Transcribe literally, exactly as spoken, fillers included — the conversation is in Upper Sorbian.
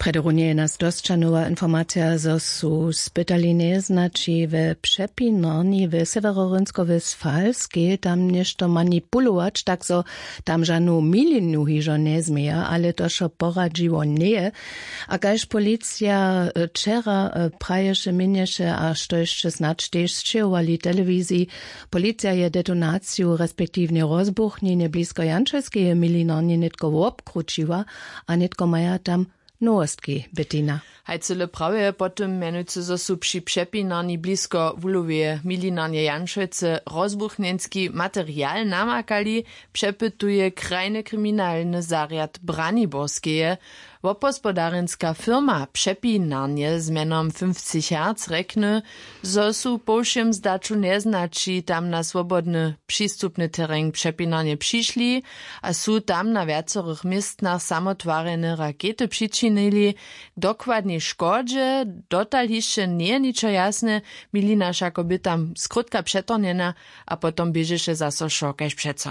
Prjedy runje je nas dosćanowa informacija, zo su spytali njeznaći we přepinarni w seweroryńskowestfalskej tam něšto manipulować, tak zo tam žanu milinu hižo njezměja, ale to wšo poradźiło njeje. A kaž policija wčera praješe, měnješe a što hišće snadź tež sćěhowali telewiziji, policija je detonaciju respektiwnje rozbuchnjenje blisko jančelskeje milinarnje nětko wobkrućiła, a nětko maja tam nowostki. Bettina. Haj cyle prawje po tym mjenujcy zo su při přepinarni blisko wuloweje milinarnje janšojcy rozbuchnjenski material namakali, přepytuje krajny kriminalny zarjad braniborskeje. Wobhospodarjenska firma přepinarnje z mjenom fünfzig hertz rjekny, zo su po wšěm zdaću njeznaći tam na swobodny přistupny tereń přepinarnje přišli a su tam na wjacorych městnach samotwarjene rakety přičinili. K dokładnej škodźe dotal hišće njeje ničo jasne. Milina wšako by tam skrótka přetornjena a potom běžeše zaso wšo kaž přeco.